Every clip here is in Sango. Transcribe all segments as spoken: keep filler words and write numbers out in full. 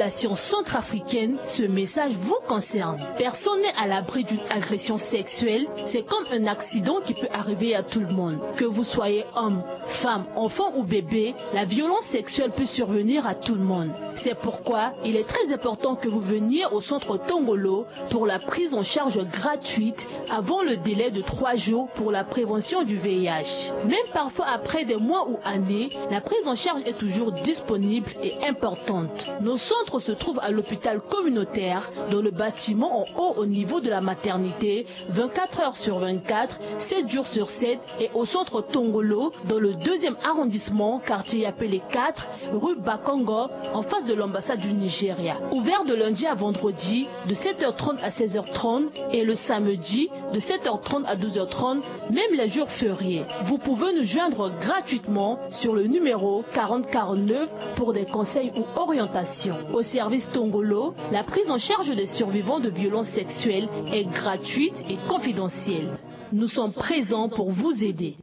La science centrafricaine, ce message vous concerne. Personne n'est à l'abri d'une agression sexuelle. C'est comme un accident qui peut arriver à tout le monde. Que vous soyez homme, femme, enfant ou bébé, la violence sexuelle peut survenir à tout le monde. C'est pourquoi il est très important que vous veniez au centre Tongolo pour la prise en charge gratuite avant le délai de trois jours pour la prévention du V I H. Même parfois après des mois ou années, la prise en charge est toujours disponible et importante. Nos centres se trouvent à l'hôpital communautaire, dans le bâtiment en haut au niveau de la maternité, vingt-quatre heures sur vingt-quatre, sept jours sur sept, et au centre Tongolo, dans le deuxième arrondissement, quartier Yapele quatre, rue Bakongo, en face de l'ambassade du Nigeria. Ouvert de lundi à vendredi, de sept heures trente à seize heures trente, et le samedi, de sept heures trente à douze heures trente, même les jours fériés. Vous pouvez nous joindre gratuitement sur le numéro quarante quarante-neuf pour des conseils ou orientations. Au service Tongolo, la prise en charge des survivants de violences sexuelles est gratuite et confidentielle. Nous sommes présents pour vous aider.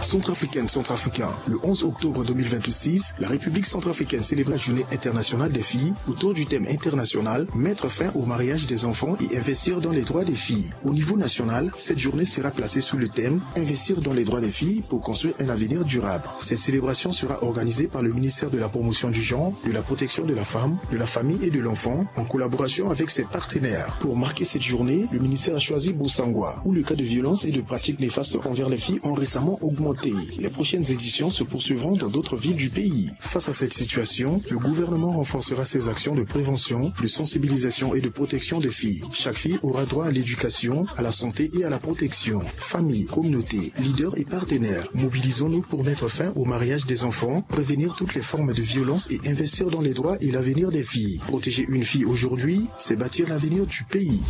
Centrafricaine, Centrafricain, le onze octobre deux mille vingt-six, la République centrafricaine célébrait la Journée internationale des filles autour du thème international: mettre fin au mariage des enfants et investir dans les droits des filles. Au niveau national, cette journée sera placée sous le thème: investir dans les droits des filles pour construire un avenir durable. Cette célébration sera organisée par le ministère de la Promotion du genre, de la Protection de la Femme, de la Famille et de l'Enfant, en collaboration avec ses partenaires. Pour marquer cette journée, le ministère a choisi Bossangoa, où le cas de violence et de pratiques néfastes envers les filles ont récemment augmenté. Les prochaines éditions se poursuivront dans d'autres villes du pays. Face à cette situation, le gouvernement renforcera ses actions de prévention, de sensibilisation et de protection des filles. Chaque fille aura droit à l'éducation, à la santé et à la protection. Famille, communauté, leaders et partenaires, mobilisons-nous pour mettre fin au mariage des enfants, prévenir toutes les formes de violence et investir dans les droits et l'avenir des filles. Protéger une fille aujourd'hui, c'est bâtir l'avenir du pays.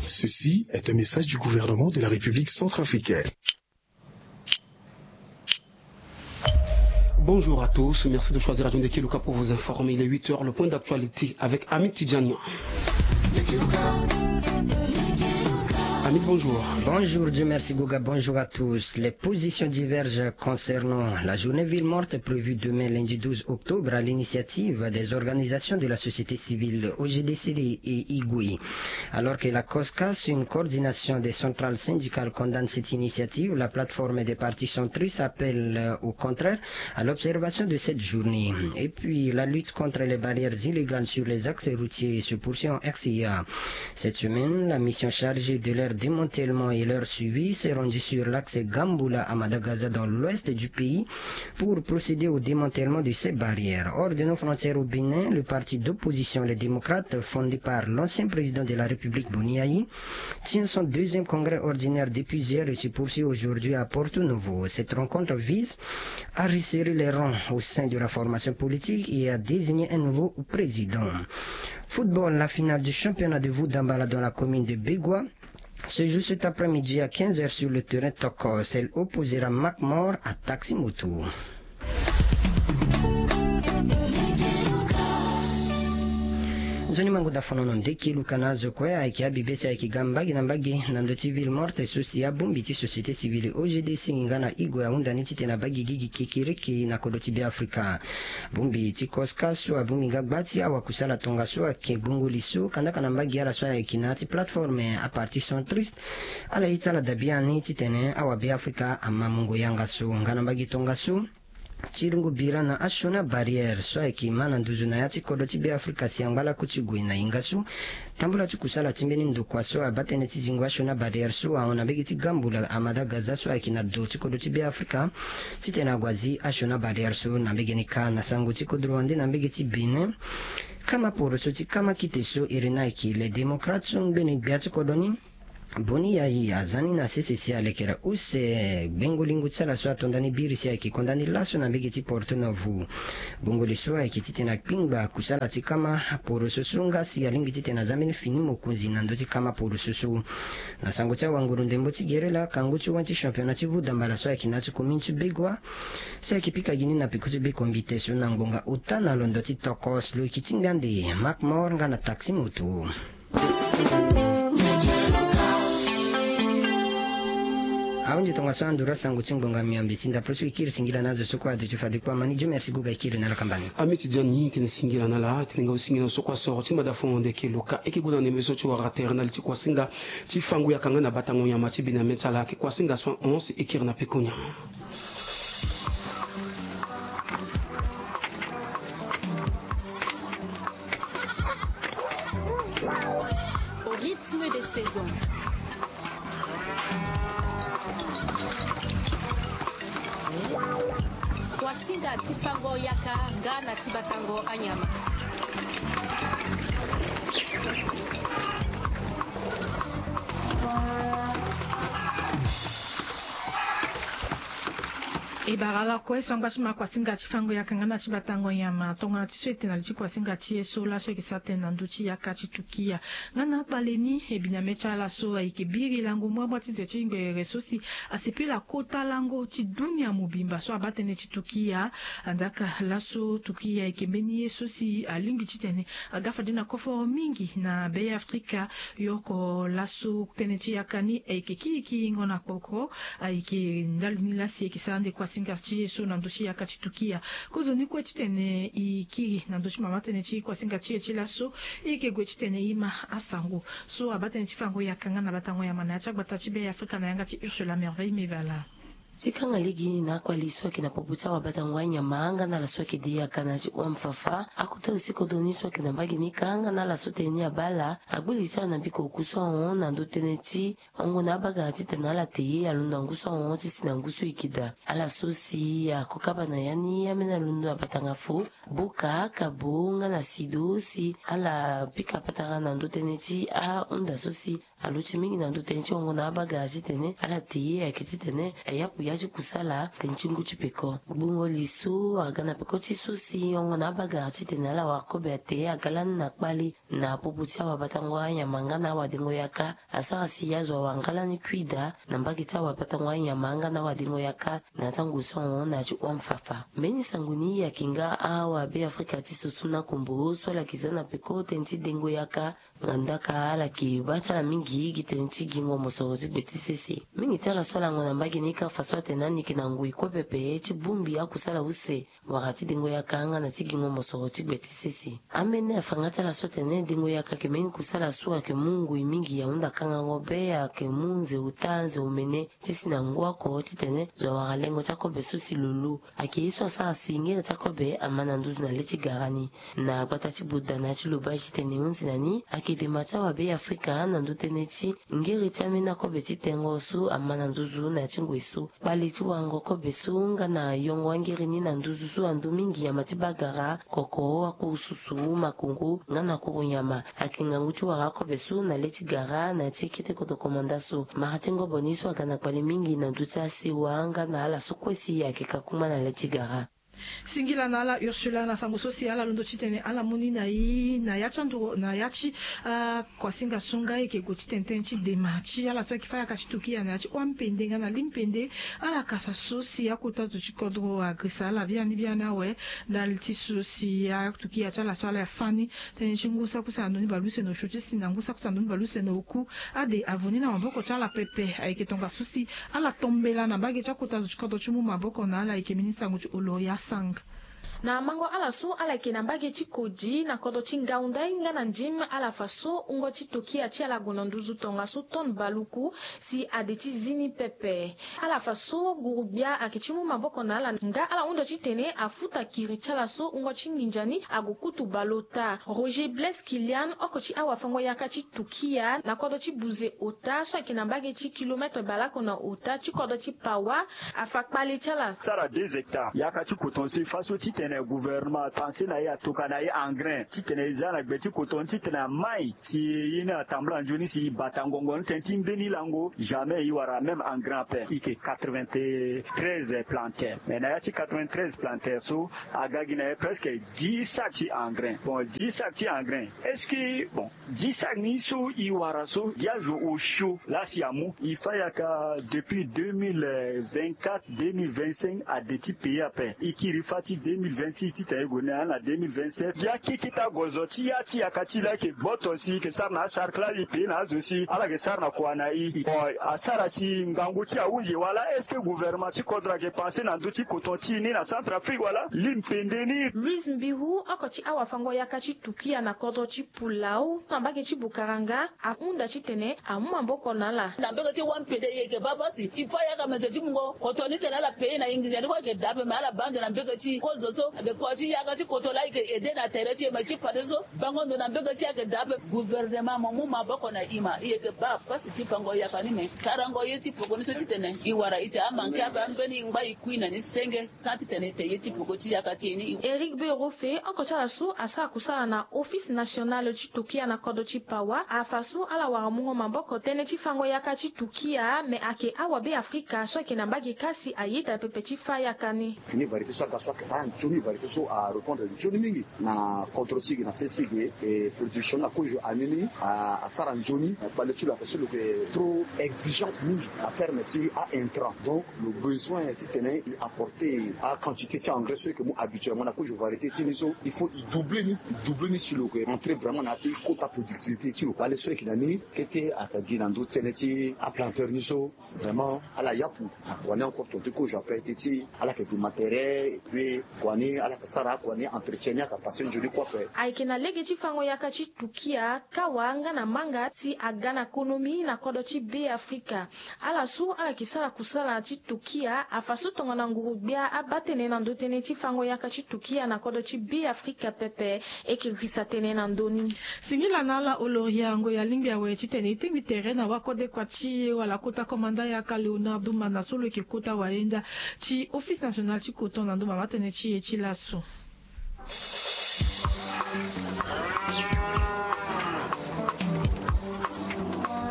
Ceci est un message du gouvernement de la République centrafricaine. Bonjour à tous, merci de choisir Radio Ndekeluka pour vous informer. Il est huit heures, le point d'actualité avec Hamid Tidjani. Hamid, bonjour. Bonjour, Dieu merci, Goga. Bonjour à tous. Les positions divergent concernant la journée ville morte prévue demain, lundi douze octobre, à l'initiative des organisations de la société civile O G D C D et Igui. Alors que la COSCAS, une coordination des centrales syndicales, condamne cette initiative, la plateforme des partis centristes appelle, euh, au contraire à l'observation de cette journée. Et puis, la lutte contre les barrières illégales sur les axes routiers se poursuit en R C A. Cette semaine, la mission chargée de leur démantèlement et leur suivi s'est rendue sur l'axe Gamboula à Madagaza, dans l'ouest du pays, pour procéder au démantèlement de ces barrières. Hors de nos frontières au Bénin, le parti d'opposition Les Démocrates, fondé par l'ancien président de la République Boni Yayi, tient son deuxième congrès ordinaire depuis hier et se poursuit aujourd'hui à Porto Novo. Cette rencontre vise à resserrer les rangs au sein de la formation politique et à désigner un nouveau président. Football, la finale du championnat de Voudambala dans la commune de Bégua se joue cet après-midi à quinze heures sur le terrain Tokos. Elle opposera Macmore à Taxi Moto. Nzoni mango da fono no ndeki luka na azo kue ayeke abibe si ayeke ga mbage na mbage na ndö ti ville morte so si abongbi ti société civile O G D C nga na Igwe ahunda ni titene abaa gigi gi kekereke na kodro ti Beafrika. Bongbi ti COSCAS so abongbi nga gba ti awakusala tongaso ayeke gbungo li so kandaka na mbage ala so ayeke na ya ti plateforme aparti centriste. Ala ye ti ala dabi ani titene awabeafrika ama mungo yanga so nga na mbage tongaso. Ti rungu bira na asioni abarrière so ayeke ma na nduzu na ya ti kodro ti Beafrika si angba laku ti gue na hinga so. Tambula ti kusala ti mbeni ndokua so abaa tënë ti zingo asioni abarrière so ahon na mbage ti Gamboula Amada Gaza so ayeke na do ti kodro ti Beafrika. Titene ague azi asioni abarrière so na mbege ni kâ na sango ti kodro wande na mbege ti Bénin. Kama poroso ti kama kite so iri ni ayeke Les Démocrates so ngbeni gbia ti kodro ni. Boni Yayi aza ni na sese si alekere use gbengo lingo ti ala so ato ndani biri si ayeke konda ni laso na mbege ti Porto Novo. Gbongo li so ayeke titene akpingba kusala ti kama poroso so nga si alingbi titene aza mbeni fini mokonzi na ndö ti kama poroso so. Na sango ti awanguru ndembo ti gerela kangu ti wen ti championnat ti Voudambala so ayeke na ya ti commune ti Bégua. Si ayeke pika gi ni na peko ti bekombite so na ngbonga ota na londo ti Tokos lo yeke ti ngbia nde Macmore nga na Taxi Moto. Tongaso anduru asango ti ngbonga miombe ti ndapre so e kiri singila na azo so kue aduti fade kue amani. Dio merci guga e kiri na ala kambani. Ami ti dia ni tene singila na ala tene nga osingila na so kue asoro ti mada fo wande eke loka eke gue na ndembe so ti wara tere na li ti kuasinga ti fango yaka nga na batango nyama ti bina me ti ala ake kuasinga so ahon si e kiri na peko nyama. Au rythme des saisons. Kuasinga ti fango yaka nga na ti batango anyama. E bara ala kue so angba ti ma kuasinga ti fango yaka nga na ti batango nyama tongana ti so e tene na li ti kuasinga ti e so laso e yeke sara tënë na ndö ti yaka ti tukia. Nga na akpale ni e bi na me ti ala so ayeke biri lango muamua ti ze ti ngbere so si asepela kota lango ti dunia mobimba so abaa tënë ti tukia. Andaka laso tukia ayeke mbeni ye so si alingbi titene aga fade na koforo mingi na be afrika. Yoko laso tënë ti yaka ni ayeke kiri kiringo na kpoko. Ayeke ndali ni lasi e yeke sara nde kuasinga ti e so na ndö ti yaka ti tukia. Kozo ni kue titene e kiri na ndö ti mama tënë ti kuasinga ti e ti laso. E yeke gue titene e ma asango so abaa tënë ti fango yaka nga na batango yama na ya ti agbata ti be afrika na yanga ti ursula merveille mevala. Ti kanga lege na akpali so ayeke na popo ti awabatango anyama nga na ala so ayeke de yaka na ya ti home fafa akota aussi kodro ni so ayeke na mbage ni kanga na ala so tënë ni abaa ala agbe li ti ala na mbiko oku so ahon na ndö tënë ti hongo na abagara titene ala te ye alondo na ngu so ahon ti si na ngu so e yeke daa. Ala so si akokaba na ya ni ambeni alondo na batanga fo boka kabo nga na sido si ala pika patara na ndö tënë ti ahunda so si alo ti mingi na ndö tënë ti hongo na abagara titene ala te ye ayeke titene ayapu ya ti kusala tënë ti ngu ti peko gbongo li so aga na peko ti so si hongo na abagara titene ala wara kobe ate aga lani na kpale na popo ti awabatango anyama nga na awadengo yaka asara si azo awara nga lani kui daa na mbage ti awabatango anyama nga na awadengo yaka na ya ti angu so ahon na ya ti home fafa mbeni sango ni ayeke nga awabe afrika ti susu na kombo so ala yeke za na peko tënë ti dengo yaka. Nga ndaka ala yeke baa ti ala mingi gi tënë ti gingo mosoro ti gbe ti sese mingi ti ala so ala ngo na mbage ni kâ fa so atene ani yeke na ngoi kue pepe ti bongbi akusala use wala ti dengo yaka nga na ti gingo mosoro ti gbe ti sese. Ambeni afanga ti ala so atene dengo yaka yeke mbeni kusala so ayeke mu ngoi mingi ahunda kangango be ayeke mu nze ota nze omene ti si na ngu oko titene zo awara lengo ti akobe so si lo lu. Ayeke ye so asara si ngere ti akobe ama na nduzu na le ti gara ni. Na gbata ti buda na ya ti loba ti tene hunzi na ni ayeke dema ti awabe afrika na ndö tënë ti ngere ti ambeni akobe ti tengo so ama na nduzu na ya ti ngoi so kpale ti warango kobe so nga na yongo angere ni na nduzu so ando mingi nyama ti bagara koko akuru susu makongo nga na kuru nyama. Ayeke ngangu ti wara akobe so na le ti gara na ya ti kete koto komanda so mara ti ngobo ni so aga na kpale mingi na ndö ti asewa nga na ala so kue si ayeke kakuma na le ti gara. Singila na ala ursula na sango so si ala londo titene ala mu ni na i na ya ti anduru na ya ti akuasinga so nga e yeke gue titene tënë ti dema ti ala so ayeke fa yaka ti tukia na ya ti hua mpende nga na li mpende. Ala kasa so si akota zo ti kodro agresa ala biani biani awe. Ndali ti so si atukia ti ala so ala fa ni tënë ti ngu saki use na ndoni baleuse na osio ti si na ngu saki use na ndoni baleuse na oku. Ade avoni na maboko ti ala pepe ayeke tongaso si ala tombela na mbage ti akota zo ti kodro ti mu maboko na ala ayeke mbeni sango ti oloria sang. Na mango ala so ala yeke na mbage ti kodi na kodro ti ngaundai nga na ndim ala fa so wungo ti tokia ti ala gue na nduzu tongaso tonne baluku si ade ti zi ni pepe. Ala fa so guru-gbia ayeke ti mu maboko na ala nga ala hunda titene afuta kiri ti ala so wungo ti nginza ni ague kutu baleota. Roger blaise kilian oko ti awafango-yaka ti tukia na kodro ti buze ota so ayeke na mbage ti kilometre baleoko na ota ti kodro ti pawa. Afa kpale ti ala. Sara deux hectares yaka ti koton so e fa so titene gouvernement apanse na e atoka na e engrin titene e za na gbe ti koton titene amai si e ye ni atambula nzoni si e bata ngongo ni tënë ti mbeni lango. Jamais e wara même engrin ape e yeke quatre-vingt-treize planter mais na ya ti quatre-vingt-treize planter so aga gi na e presque dix sacs ti engrin bon dix sacs ti engrin est-ce que bon dix sacs ni so e wara so gi azo osio lasi amu e fa yaka depuis deux mille vingt-quatre deux mille vingt-cinq ade ti pays ape e kiri fa ti deux mille vingt-six titene e gue ni na deux mille vingt-sept. Ya keke ti agozo ti ya ti yaka ti e laa e yeke gboto si e yeke sara na asarkla e pe na azo si ala yeke sara na kua na e. Bon, asara si ngangu ti e ahunzi wala est-ce que gouvernement ti kodro ayeke pense na ndö ti koton ti e ni na Centrafrique wala? Li mpende ni. Louise Mbiru, oko ti awafango-yaka ti Tukia na kodro ti Pulau na mbage ti Bukaranga, ahunda titene amu maboko na ala. Na mbage ti wampede e yeke baa pasi, il faut ayaka mezo ti mungo koto ni tene ala pe na e nginza ni kue ayeke daa ape, me ala baa ndo na mbage ti kozo so ayeke kua ti yaka ti koto laa e yeke ede na tere ti e, me ti fadeso bango ndo na mbage ti e ayeke daa ape. Gouvernement mo mu maboko na e ma e yeke baa pasi ti fango yaka ni, me sarango ye ti peko ni so titene e wara e te amanke ape ambeni e ngba e kui na ni senge. Sara titene e te ye ti peko ti yaka ti e ni. Éric Berofe, oko ti ala so asara kusala na Office National ti Tukia na kodro ti Pawa, afa so ala wara mungo maboko tënë ti fango yaka ti Tukia, me ayeke awabe Afrika so ayeke na mbage kâ si ayeda pepe ti fâ yaka ni. Fini variété so aga so ayeke baa nzoni, variété so arépondre nzoni mingi na kodro ti e na sese ge, e production na kozo ani ni a, asara nzoni. Kpale ti lo ayeke so lo yeke trop exigeante mingi na terme ti a-intrant. Donc lo besoin titene e apporter a-quantité ti engrais so e yeke mu habituellement na kozo variété ti e ni so, il faut e doubler ni, e doubler ni si lo yeke entrer vraiment na ya ti kota productivité ti lo. Kpale so e yeke na ni kete ayeke gi na ndö ti tënë ti aplanteur ni so. Vraiment ala yapu na kua ni encore tonga ti kozo ape teti ala yeke du matériel et puis kua ni ala yeke sara akua ni entretien ni ayeke passe nzoni kue ape. Ayeke na lege ti fango yaka ti Tukia, kawa nga na manga si aga na konomi na kodro ti Be Afrika. Ala so ala yeke sara kusala ti Tukia afa so tongana nguru-gbia abaa tënë na ndö tënë ti fango yaka ti Tukia na kodro ti Be Afrika pepe. E yeke risa tënë na ndö ni. Singila na ala oloria ngoi alingbi awe titene e tingbi tere na wakodekua ti e wala kota komanda yaka Léonard Dumana so lo yeke kota wayenda ti Office National ti Coton na ndö mama tënë ti e ti laso.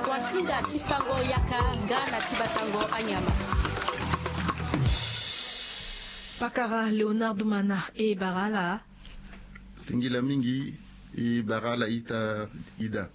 Kuasinga ti fango yaka nga na ti batango anyama. Pakara Léonard Dumana, e bara ala. Singila mingi, e bara ala ita Ida.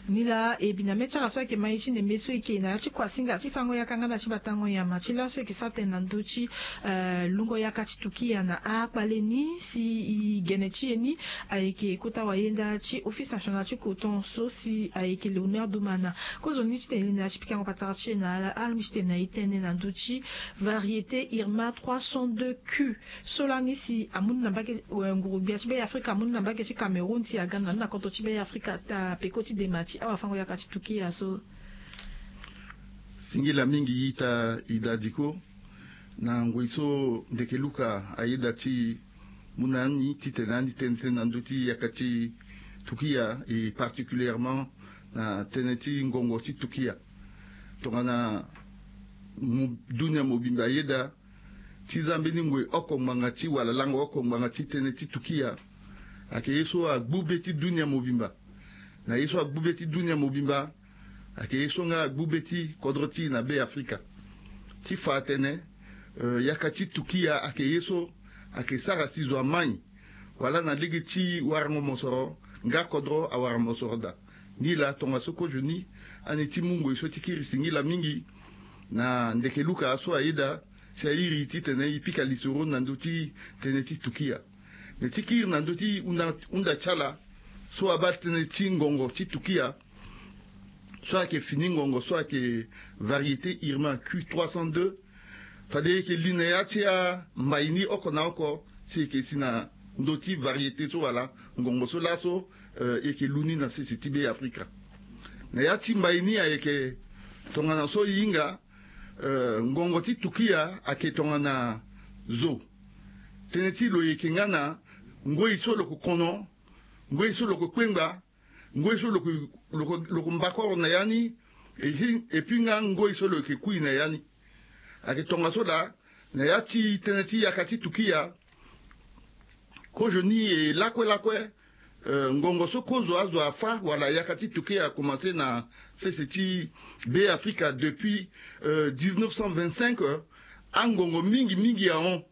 Ni laa e bi na mê ti ala so ayeke ma e ti ndembe so e yeke na ya ti kuasinga ti fango yaka nga na ti batango nyama ti laso e yeke sara tënë na ndö ti, eh, lungo yaka ti Tukia na akpale ni si e gene ti e ni ayeke kota wayenda ti Office National ti Coton so si ayeke Léonard Dumana. Kozoni titene e na ya ti pikango patara ti e na ala, alingbi titene na e tënë na ndö ti variété Irma trois cent deux Q. So lani si amu ni na mbage, eh, nguru-gbia ti Be Afrika amu ni na mbage ti Cameroun si aga na ni na kodro ti Be Afrika taa peko ti dema ti awafango yaka ti Tukia so. Singila mingi ita Ida Diko. Na ngoi so ndeke luka ayeda ti mu na ni titene ani tene tënë na ndö ti yaka ti Tukia et particulièrement na tënë ti ngongo ti Tukia. Tongana mu, dunia mobimba ayeda ti za mbeni ngoi oko ngbanga ti wala lango oko ngbanga ti tënë ti Tukia. Ayeke ye so agbu be ti dunia mobimba. Na ye so agbu be ti dunia mobimba ayeke ye so nga agbu be ti kodro ti e na Be Afrika. Ti fa atene, eh, yaka ti Tukia ayeke ye so ayeke sara si zo amai wala na lege ti warango mosoro nga kodro awara mosoro daa. Ni laa tongaso kozoni ani ti mu ngoi so ti kiri singila mingi na ndeke luka so ayeda si airi titene e pika lisoro na ndö ti tënë ti Tukia. Me ti kiri na ndö ti hunda, hunda ti ala so abaa tënë ti ngongo ti Tukia so ayeke fini ngongo so ayeke variété Irma Q trois cent deux. Fade e yeke li na ya ti ambai ni oko na oko si e yeke si na ndö ti variété so wala ngongo so laso, eh, e yeke lu ni na sese ti Be Afrika. Na ya ti mbai ni ayeke tongana so e hinga, eh, ngongo ti Tukia ayeke tongana zo. Tënë ti lo e yeke nga na ngoi so lo ko kono, ngoi so lo ko kpengba, ngoi so lo ko, lo ko, lo ko mbakoro na ya ni, et puis, et puis nga ngoi so lo yeke kui na ya ni. Ayeke tongaso laa na ya ti tënë ti yaka ti Tukia. Kozoni e lakue lakue, eh, ngongo so kozo azo afâ wala yaka ti Tukia akomanse na sese ti Be Afrika depuis, eh, dix-neuf cent vingt-cinq, eh, angongo mingi mingi ahon.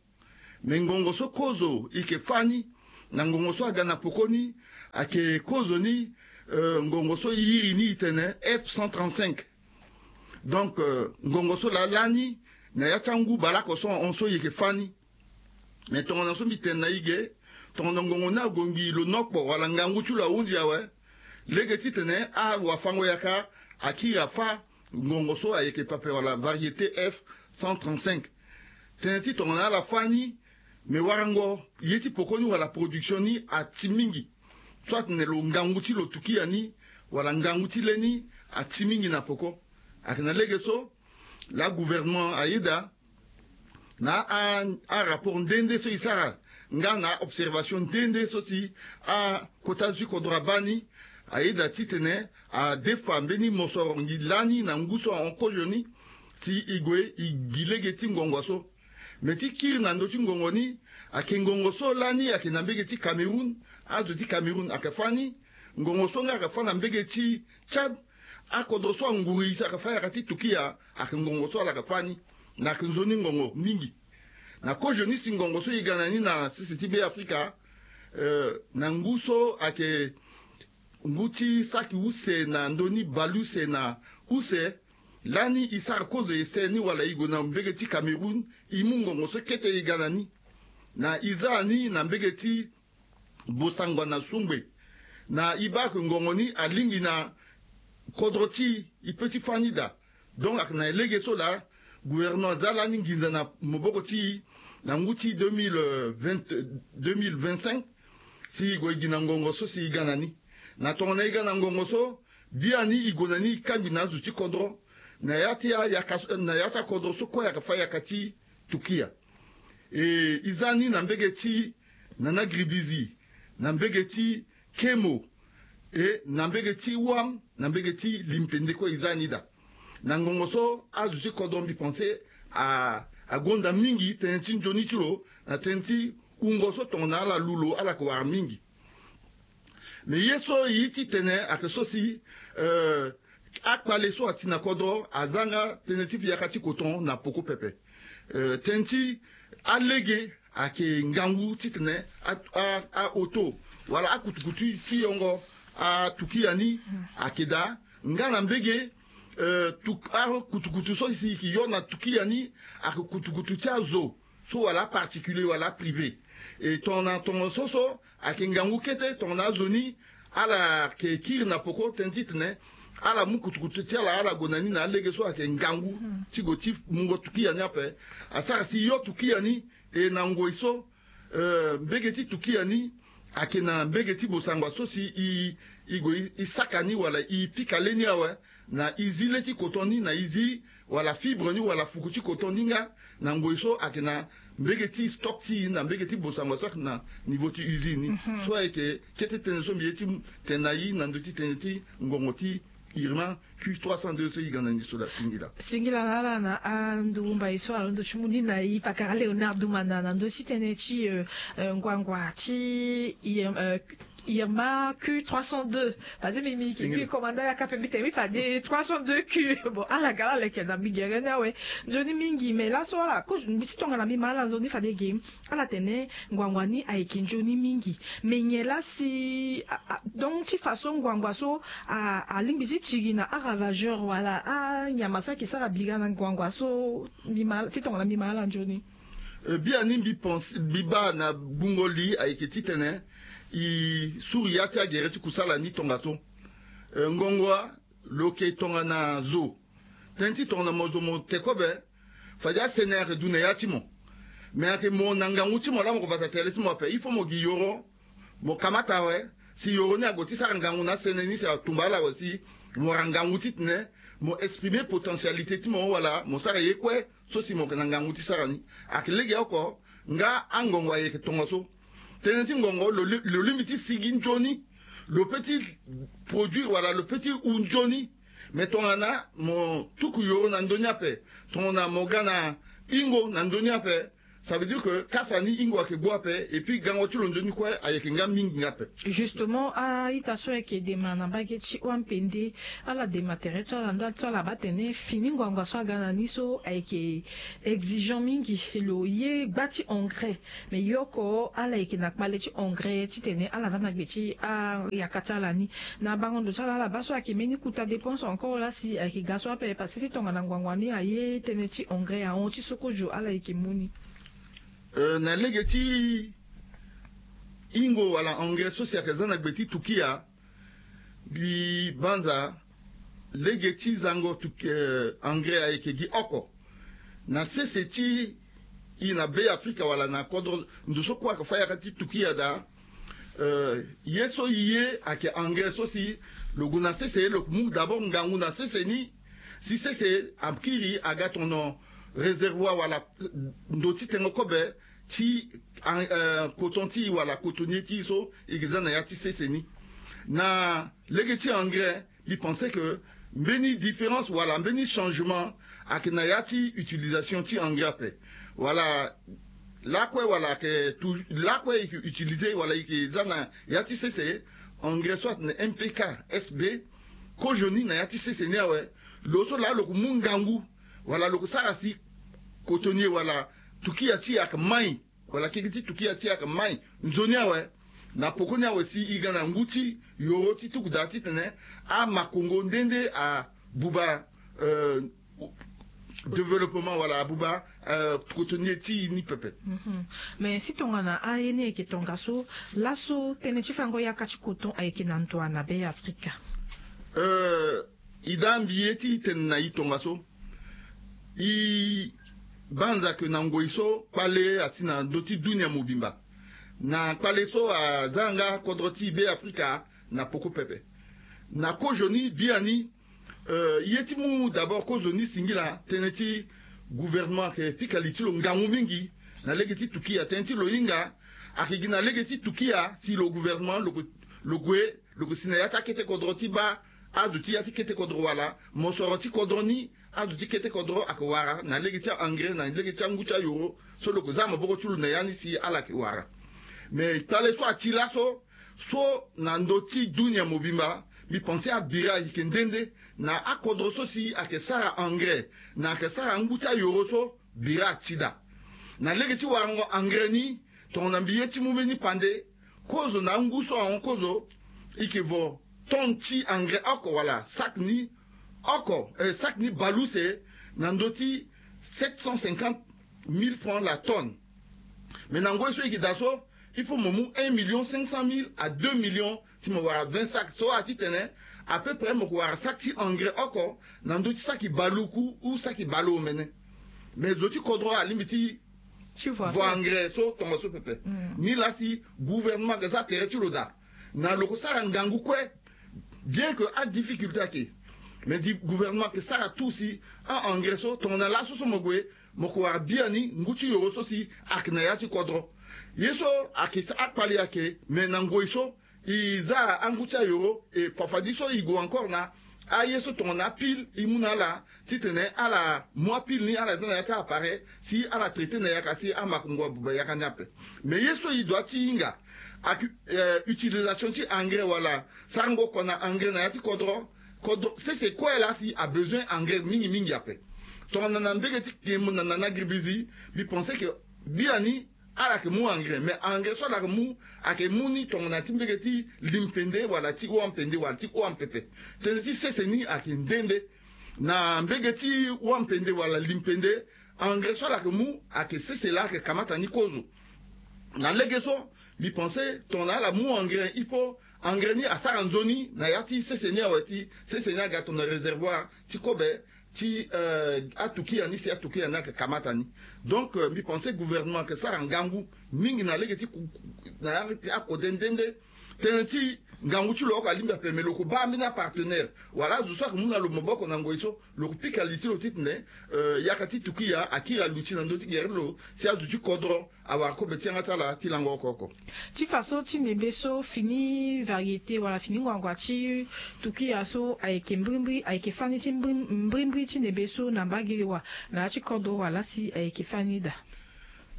Me ngongo so kozo e yeke fâ ni na ngongo so aga na poko ni ayeke kozoni, eh, ngongo so e iri ni e tene F cent trente-cinq. Donc, eh, ngongo so laa lani na ya ti angu baleoko so ahon so e yeke fâ ni. Mais tongana so mbi tene na i ge, tongana ngongo ni ague ngbii lo nokpo wala ngangu ti lo ahunzi awe, lege titene awafango-yaka akiri afâ ngongo so ayeke pepe wala variété F cent trente-cinq. Tënë ti tongana ala fâ ni, me warango ye ti poko ni wala production ni ati mingi. So atene lo ngangu ti lo tukia ni wala ngangu ti le ni ati mingi na poko. Ayeke na lege so laa gouvernement ayeda na a, a rapport nde nde so e sara nga na a observation nde nde so si akota zo ti kodro abaa ni, ayeda titene adefa mbeni mosoro ngi lani na ngu so ahon kozo ni, si e gue e gi lege ti ngongo so. Me ti kiri na ndö ti ngongo ni, ayeke ngongo so lani ayeke na mbege ti Cameroun, azo ti Cameroun ayeke fâ ni. Ngongo so nga ayeke fâ na mbege ti Tchad, akodro so anguru e si ayeke fâ yaka ti tukia, ayeke ngongo so ala yeke fâ ni. Na ayeke nzoni ngongo mingi. Na kozo ni si ngongo so e ga na ni na sese ti Be Afrika, eh, na ngu so ayeke ngu ti saki use na ndö ni bale use na use, lani e sara kozo ese ni wala e gue na mbege ti Cameroun, e mu ngongo so kete e ga na ni. Na e za ni na mbege ti Bosangwa na Songbe. Na e baa ayeke ngongo ni alingbi na kodro ti e, e pe ti fâ ni daa. Donc ayeke na lege so laa gouvernement aza lani nginza na maboko ti e na ngu ti deux mille vingt, deux mille vingt-cinq, si e gue e gi na ngongo so si e ga na ni. Na tongana e ga na ngongo so, biani e gue na ni e kangbi na azo ti kodro na ya ti ayaka, na ya ti akodro so kue ayeke fâ yaka ti tukia. E, e za ni na mbege ti Nana Gribizi, na mbege ti Kemo, e na mbege ti Wam, na mbege ti Limpende kue e za ni daa. Na ngongo so azo ti kodro mbi pense a, agonda mingi tënë ti nzoni ti lo, na tënë ti wungo so tongana ala lu lo ala yeke wara mingi. Me ye so e ye ti tene ayeke so si, eh, akpale so ati na kodro aza nga tënë ti yaka ti koton na poko pepe. Eh, tënë ti alege ayeke ngangu titene a, a, a-auto wala akutukutu ti yongo atukia ni ayeke daa. Nga na mbege, eh, tuk-, akutukutu so si e yeke yo na tukia ni ayeke kutukutu ti azo so wala aparticulier wala privé. E tongana tongo so so ayeke ngangu kete tongana azo ni ala yeke kiri na poko tënë titene ala mu kutukutu ti ala ala gue na ni na alege so ayeke ngangu ti gue ti mungo tukia ni ape. Asara si e yo tukia ni, e na ngoi so, eh, mbege ti tukia ni ayeke na mbege ti Bosangwa so si e, e gue e saka ni wala e pika le ni awe. Na e zi le ti koton ni, na e zi wala fibre ni wala fuku ti koton ni nga na ngoi so ayeke na mbege ti stock ti e na mbege ti Bosangwa so ayeke na niveau ti usine ni. Mhm. So ayeke kete tënë so mbi ye ti tene na e na ndö ti tënë ti ngongo ti Irma Q trois cent deux so e ga na ni so laa. Singila. Singila na ala na anduru mbai so alondo ti mu ni na e pakara Léonard Dumana na ndö ti tënë ti, euh, euh, ngbangba ti, euh, Irma Q trois cent deux. Parce que mbi, mbi, mbi commanda yaka ape, mbi tene mbi fade trois cent deux Q. Bon, ala ga la leke na mbi gere ni awe. Nzoni mingi, mais laso ala, ko, mbi si tongana mbi ma ala nzoni fade ge. Ala tene ngbangba ni ayeke nzoni mingi. Mais nyen la si, a, a, donc ti façon ngbangba so a, alingbi ti tiri na aravageur wala anyama so ayeke sara bira na ngbangba so, mbi ma, si tongana mbi ma ala nzoni. Eh, biani mbi pense, mbi baa na gbungo li ayeke titene e suru ya ti agere ti kusala ni tongaso. Eh, ngongo a, lo yeke tongana zo. Tënë ti tongana mo zo mo te kobe, fade asene ayeke du na ya ti mo. Me ayeke mo na ngangu ti mo laa mo ko bata tele ti mo ape. Il faut mo gi yoro, mo kamata awe, si yoro ni ague ti sara ngangu na asene ni si atumba ala awe si mo wara ngangu titene mo exprimer potentialité ti mo wala mo sara ye kue so si mo yeke na ngangu ti sara ni. Ayeke legeoko nga angongo ayeke tongaso. Tënë ti ngongo lo li-, lo lingbi ti sigi nzoni, lo pe ti produire wala lo pe ti hu nzoni. Me tongana mo tuku yoro na ndö ni ape, tongana mo ga na hingo na ndö ni ape, ça veut dire que kasa ni hingo ayeke gbu ape, et puis gango ti lo nzoni kue ayeke nga mingi nga ape. Justement, a-ita so ayeke dema na mbage ti Wampende, ala dema tere ti ala ndali so ala baa tene fini ngbangba so aga na ni so ayeke exigeant mingi, lo ye gba ti engrais. Me yoko ala yeke na kpale ti engrais titene ala za na gbe ti ayaka ti ala ni. Na bango ndo ti ala, ala baa so ayeke mbeni kota dépense encore la si ayeke ga so ape, parce que ti tongana ngbangba ni aye tënë ti engrais ahon ti sokozo ala yeke mu ni. Euh, na lege ti ingo wala engrais so si ayeke za na gbe ti Tukia, mbi banza lege ti zango Tukia, euh, engrais ayeke gi oko na sese ti i na Be Afrika wala na kodro ndo so kue ayeke fa yaka ti Tukia daa. Euh, ye so i ye ayeke engrais so si lo gue na sese, lo mu d'abord ngangu na sese ni, si sese akiri aga tono réservoir wala ndo ti tengo kobe ti, euh, coton ti i wala cotonnier ti i so i ke za na ya ti sese ni. Na lege ti engrais, mbi pense que mbeni différence wala mbeni changement ayeke na ya ti utilisation ti engrais ape. Wala lakue wala ayeke tou-, lakue i ke utiliser wala i ke za na ya ti sese, engrais so atene M P K, S B, kozoni na ya ti sese ni awe. Lo so laa lo ke mu ngangu wala lo ke sara si cotonnier wala tukia ti e ayeke mai, wala keke ti tukia ti e ayeke mai nzoni awe. Na poko ni awe si i ga na ngu ti yoro ti tuku daa titene amakongo nde nde abuba, euh, développement wala abuba, euh, cotonnier ti i ni pepe. Mhm. Mais si tongana aye ni ayeke tongaso, laso tënë ti fango yaka ti coton ayeke na ndo wa na Be Afrika? Euh, i daa mbi ye ti tene na i tongaso. I banza ke na ngoi so kpale asi na ndö ti dunia mobimba. Na kpale so aza nga kodro ti Be Afrika na poko pepe. Na kozoni biani, euh, ye ti mu d'abord kozoni singila tënë ti gouvernement ayeke pika li ti lo ngangu mingi na lege ti tukia. Tënë ti lo hinga ayeke gi na lege ti tukia si lo gouvernement lo, lo gue, lo ke si na ya ti akete kodro ti baa azo ti ya ti kete kodro wala mosoro ti kodro ni, azo ti kete kodro ayeke wara na lege ti engrais na lege ti angu ti ayoro so lo ke za maboko ti lo na ya ni si ala yeke wara. Mais kpale so ati laso, so na ndö ti dunia mobimba, mbi pense abira ayeke nde nde na akodro so si ayeke sara engrais na ayeke sara angu ti ayoro so, bira ati daa. Na lege ti warango engrais ni, tongana mbi ye ti mu mbeni pande, kozo na angu so ahon kozo, i ke vo tonne ti engrais oko wala sac ni oko, eh, sac ni baleuse na ndö ti sept cent cinquante mille francs la tonne. Mais na ngoi so i ke daa so, il faut mo mu un million cinq cent mille à deux millions ti mo wara vingt sacs. So ati tene à peu près mo ke wara sac ti engrais oko na ndö ti saki baluku ou saki baleomene. Mais zo ti kodro alingbi ti vo engrais so tongaso pepe. Mm. Ni laa si gouvernement ayeke za tere ti lo daa na lo ke sara ngangu kue. Bien que adifficulté ayeke, mais di gouvernement ayeke sara tout si a-engrais so tongana laso so mo gue, mo ke wara biani ngu ti yoro so si ayeke na ya ti kodro. Ye so ayeke akpali ayeke, mais na ngoi so i za angu ti ayoro, e fafadi so i gue encore na aye so tongana apile i mu na ala titene ala mu apile ni ala za na ya ti appareil si ala traiter na yaka si amakongo abuba yaka ni ape. Mais ye so i doit ti hinga ayeke, eh, utilisation ti engrais wala sarango oko na engrais na ya ti kodro. Kodro sese kue laa si abezoin engrais mingi mingi ape. Tongana na mbege ti kemo na nana gribizi, mbi pense que biani ala yeke mu engrais, mais engrais so ala yeke mu ayeke mu ni tongana ti mbege ti limpende wala ti wampende wala ti wampepe. Tënë ti sese ni ayeke nde nde. Na mbege ti wampende wala limpende, engrais so ala yeke mu ayeke sese laa ayeke kamata ni kozo. Na lege so mbi pense tongana ala mu engrais, il faut engrais ni asara nzoni na ya ti sese ni awe ti sese ni aga tongana réservoir ti kobe ti, euh, atukia ni si atukia ni ayeke kamata ni. Donc, euh, mbi pense gouvernement ayeke sara ngangu mingi na lege ti ku-, ku-, na ya ti akode nde nde. Tënë ti ngangu ti lo oko alingbi ape, me lo ke baa ambeni apartenaire wala azo so ayeke mu na lo maboko na ngoi so lo ke pika li ti lo titene, euh, yaka ti tukia akiri aluti na ndö ti gere ti lo si azo ti kodro awara kobe ti yanga ti ala ti lango oko oko. Ti faso ti ndembe so fini variété wala fini ngbangba ti tukia so ayeke mbrimbri, ayeke fani ti mbri-, mbrimbri ti ndembe so na mbage wa na ya ti kodro wala si ayeke fani daa?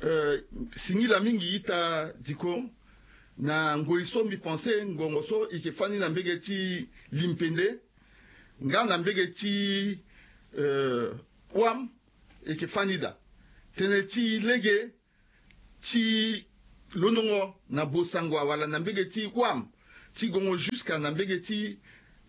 Euh, singila mingi ita diko. Na ngoi so mbi pense ngongo so i ke fani na mbege ti limpende nga na mbege ti, euh, wam, e ke fani daa. Tënë ti lege ti londongo na bosangwa wala na mbege ti wam ti gongo jusqu'à na mbege ti,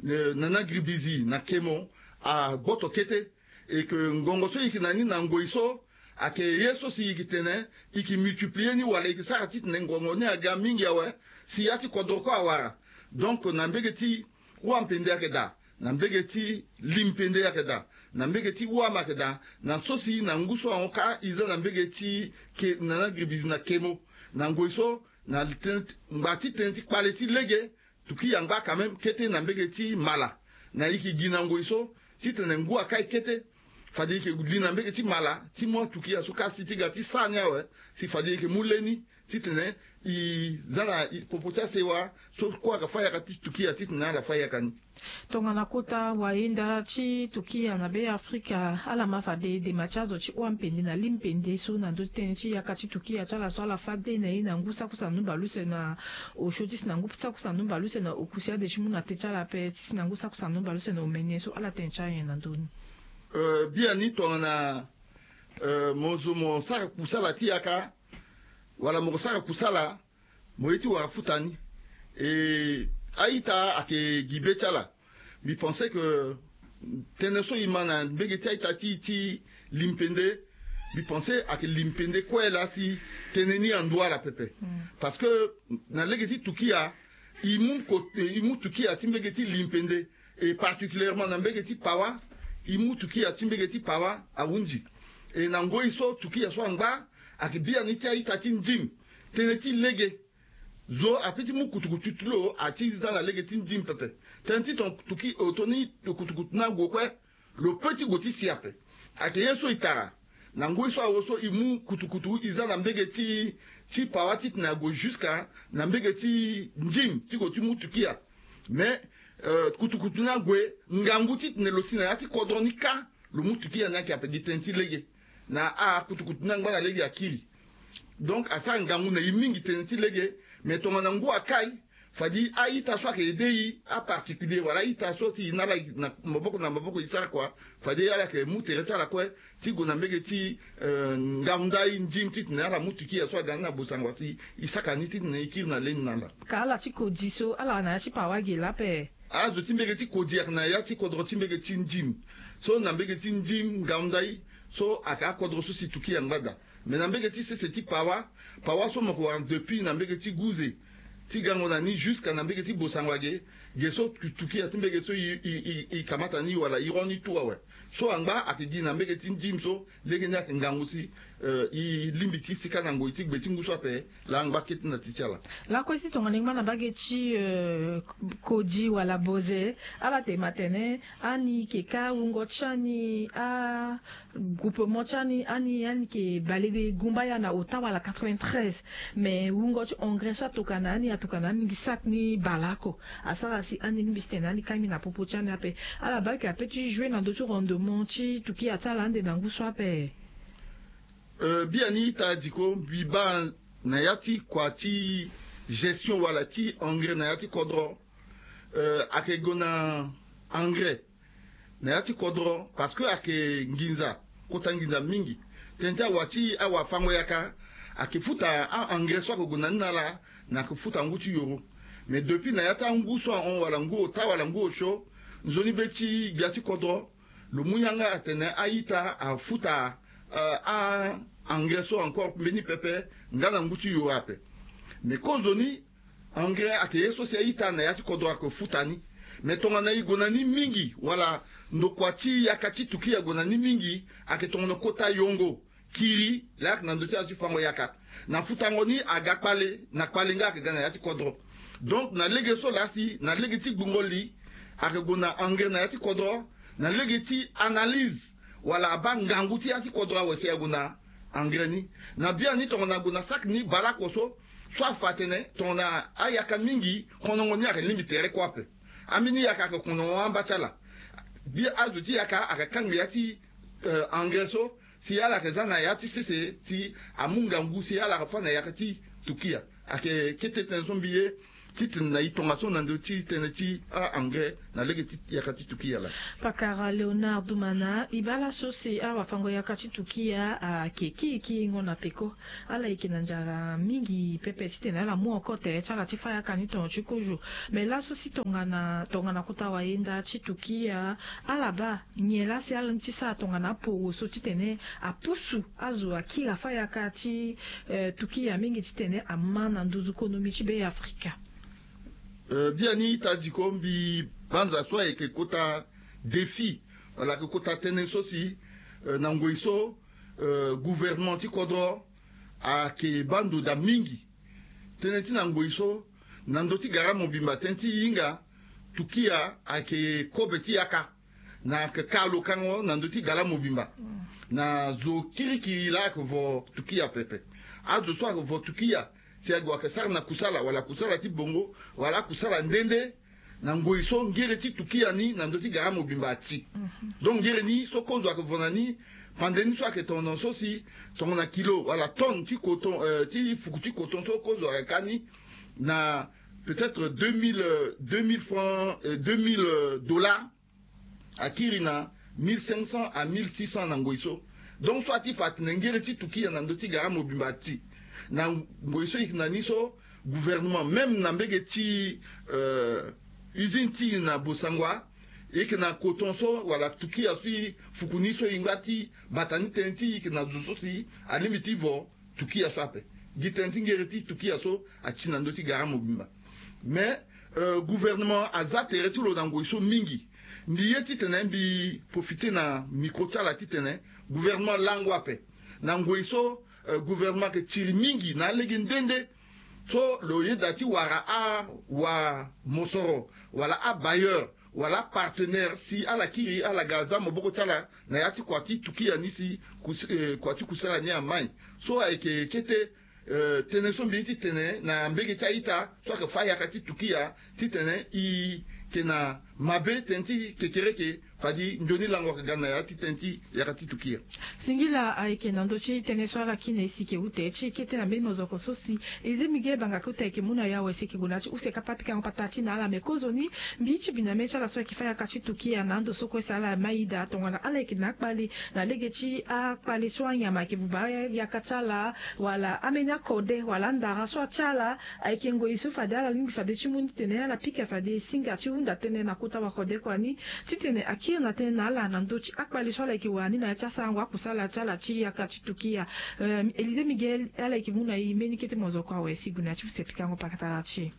euh, nana gribizi na kemo agboto kete. E ke ngongo so i ke na ni na ngoi so Ayeke ye so si e yeke tene e yeke multiplier ni wala e yeke sara titene ngongo ni aga mingi awe, si ya ti kodro kue awara. Donc na mbege ti wampende ayeke daa, na mbege ti limpende ayeke daa, na mbege ti wama ayeke daa. Na so si na ngu so ahon kâ e za na mbege ti ke na na gribizi na kemo. Na ngoi so na tënë ti ngba ti tënë ti kpale ti lege, tukia angba quand même kete na mbege ti mala. Na e yeke gi na ngoi so titene ngu akâ e kete, fade e yeke li na mbege ti mala ti mu atukia so kâ si ti ga ti sara ni awe, si fade e yeke mu le ni titene e za na popo ti asewa so kue ayeke fâ yaka ti tukia titene ala fâ yaka ni. Tongana kota wayenda ti tukia na be afrika, ala ma fade dema ti azo ti wampende na limpende so na ndö ti tënë ti yaka ti tukia ti ala so ala fâ de na ye na ngu saki use na numba luse na osio ti si na ngu saki use na numba luse na okusi ade ti mu na te ti ala ape ti si na ngu saki use na numba luse na omene so ala tene ti anyen na ndö ni. Biani tongana mo zo mo sara kusala ti yaka wala mo sara kusala, mo ye ti wara futa ni. E a-ita ayeke gi be ti ala. Mbi pense que tënë so e ma na mbege ti a-ita ti ti limpende, mbi pense ayeke limpende kue laa si tënë ni andu ala pepe. Parce que na lege ti tukia e mu ko e mu tukia ti mbege ti limpende, e particulièrement na mbege ti pawa, e mu tukia ti mbege ti pawa ahunzi. E na ngoi so tukia so angba ayeke biani ti a-ita ti ndim. Tënë ti lege zo ape ti mu kutukutu ti lo ati za na lege ti ndim pepe. Tënë ti ton tuki otoni kutukutu ni ague kue, lo pe ti gue ti si ape. Ayeke ye so e tara na ngoi so awe so e mu kutukutu e za na mbege ti ti pawa titene ague jusqu'à na mbege ti ndim ti gue ti mu tukia. Mais kutukutu ni ague ngangu titene lo si na ya ti kodro ni kâ, lo mu tukia ni ayeke ape gi tënë ti lege. Na akutukutu ni angba na lege akiri. Donc asara ngangu na e mingi tënë ti lege. Mais tongana ngu akai, fade a-ita so ayeke aidé e, aparticulier wala a-ita so ti e na ala na maboko na maboko e sara kua, fade ala yeke mu tere ti ala kue ti gue na mbege ti ngangu ndai ndim titene ala mu tukia so aga ni na bosango si e saka ni titene e kiri na le ni na ala. Ka ala ti kodi so ala na ya ti pawa ge laa ape. Azo ti mbege ti kodi ayeke na ya ti kodro ti mbege ti ndim. So na mbege ti ndim ngangu ndai so ayeke akodro so si tukia angba daa. Mais na mbege ti sese ti pawa, pawa so mo yeke wara depuis na mbege ti guze ti gango na ni jusqu'à na mbege ti bosango age, ge so tukia ti mbege so e kamata ni wala e ro ni tout awe. So angba ayeke gi na mbege ti ndim so lege ni ayeke ngangu si e lingbi ti sika na ngoi ti gbe ti ngu so ape. Laa angba kete na ti ti ala. Lakue si tongana e ngba na mbage ti kodi wala boze, ala tene ma tene ani yeke kâ wungo ti ani a groupement ti ani ani ani yeke balegue gumba ya na ota wala quatre-vingt-treize. Mais wungo ti engrais so atoka na ani atoka na ani gi saki ni baleoko. Asara si ani lingbi ti tene ani kangbi na popo ti ani ape. Ala baa yeke ape ti jouer na ndö ti rendement ti tukia ti ala ande na ngu so ape. Biani ita diko mbi baa na ya ti kua ti gestion wala ti engrais na ya ti kodro. Ayeke gue na engrais na ya ti kodro parce que ayeke nginza, kota nginza mingi. Tënë ti awa ti awafango yaka ayeke futa a-engrais so ayeke gue na ni na ala, na ayeke futa ngu ti yoro. Mais depuis na ya ti angu so ahon wala ngu ota wala ngu osio, nzoni be ti gbia ti kodro lo mu yanga atene a-ita afuta a-engrais so encore mbeni pepe nga na ngu ti yoro ape. Mais kozoni engrais ayeke ye so si a-ita na ya ti kodro ayeke futa ni. Mais tongana e gue na ni mingi wala ndokua ti yaka ti tukia ague na ni mingi, ayeke tongana kota yongo kiri laa ayeke na ndö ti azo ti fango yaka. Na futango ni aga kpale na kpale nga ayeke ga na ya ti kodro. Donc na lege so laa si na lege ti gbungo li ayeke gue na engrais na ya ti kodro, na lege ti analyse wala abaa ngangu ti ya ti kodro awe si ague na engrais ni. Na biani tongana ague na saki ni baleoko so, so afa atene tongana ayaka mingi, konongo ni ayeke lingbi tere kue ape. Ambeni yaka ayeke konongo amba ti ala. Bi azo ti yaka ayeke kangbi ya ti engrais so si ala yeke za na ya ti sese si amu ngangu si ala yeke fâ na yaka ti tukia. Ayeke kete tënë so mbi ye. titene na e tongaso na ndö ti tënë ti a-engrais na lege ti yaka ti tukia laa. Pakara Léonard Dumana, e baa laso si awafango yaka ti tukia ayeke kiri kiringo na peko. Ala yeke na nzara mingi pepe titene ala mu oko tere ti ala ti fâ yaka ni tongo ti kozo. Me laso si tongana tongana kota wayenda ti tukia, ala baa nyen laa si ala ni ti sara tongana aporo so titene apusu azo akiri afâ yaka ti tukia mingi titene ama na nduzu konomi ti Beafrika. Biani ita diko mbi banza so ayeke kota défi wala ayeke kota tënë so si na ngoi so gouvernement ti kodro ayeke baa ndo daa mingi. Tënë ti na ngoi so na ndö ti gara mobimba tënë ti hinga tukia ayeke kobe ti yaka na ayeke ka lo kango na ndö ti gara mobimba. Na zo kirikiri laa ayeke vo tukia pepe. Azo so ayeke vo tukia si ague ayeke sara na kusala wala kusala ti bongo wala akusala nde nde. Na ngoi so ngere ti tukia ni na ndö ti gara mobimba ati. Donc ngere ni so kozo ayeke vo na ni pande ni so ayeke tongana so si tongana kilo wala tonne ti coton ti fuku ti coton so kozo ayeke ka ni na peut-être deux mille deux mille francs deux mille dollars. Akiri na mille cinq cents à mille six cents na ngoi so. Donc so ati fa atene ngere ti tukia na ndö ti gara mobimba ati. Na ngoi so e yeke na ni so gouvernement même na mbege ti usine ti e na Bossangoa, e yeke na coton so wala tukia so e fuku ni so e ngba ti bata ni tënë ti e yeke na zo so si alingbi ti vo tukia so ape. Gi tënë ti ngere ti tukia so ati na ndö ti gara mobimba. Mais gouvernement aza tere ti lo na ngoi so mingi. Mbi ye titene mbi profite na micro ti ala titene gouvernement lango ape na ngoi so gouvernement ayeke tiri mingi na alege nde nde. So lo yeda ti wara awamosoro wala abailleur wala apartenaire si ala kiri ala ga za maboko ti ala na ya ti kua ti tukia ni si kua ti kusala ni amai. So ayeke kete tënë so mbi ye titene na mbege ti a-ita so ayeke fâ yaka ti tukia titene e yeke na mabe tënë ti kekereke fade nzoni lango ayeke ga na ya ti tënë ti yaka ti tukia. Singila ayeke na ndö ti tënë so ala kiri na e si e yeke ute ti kete na mbeni mozoko so si Elisée Miguel Bangaka ute ayeke mu na e awe si e yeke gue na ya ti use kapa pikango patara ti na ala me kozoni mbi ti bi na mbeni ti ala so ayeke fâ yaka ti tukia na ando so kue si ala mai daa tongana ala yeke na akpale na lege ti akpale so anyama ayeke buba yaka ti ala wala ambeni akode wala andara so atia ala. Ayeke ngoi so fade ala lingbi fade ti mu ni titene ala pika fade e singa ti hunda tënë na kota wakode kua ni titene akiri na tënë na ala na ndö ti akpale so ala yeke wara ni na ya ti asarango akusala ti ala ti yaka ti tukia. Elisée Miguel ala yeke mu na e mbeni kete mozoko awe si e gue na ya ti use pikango pakatara ti e.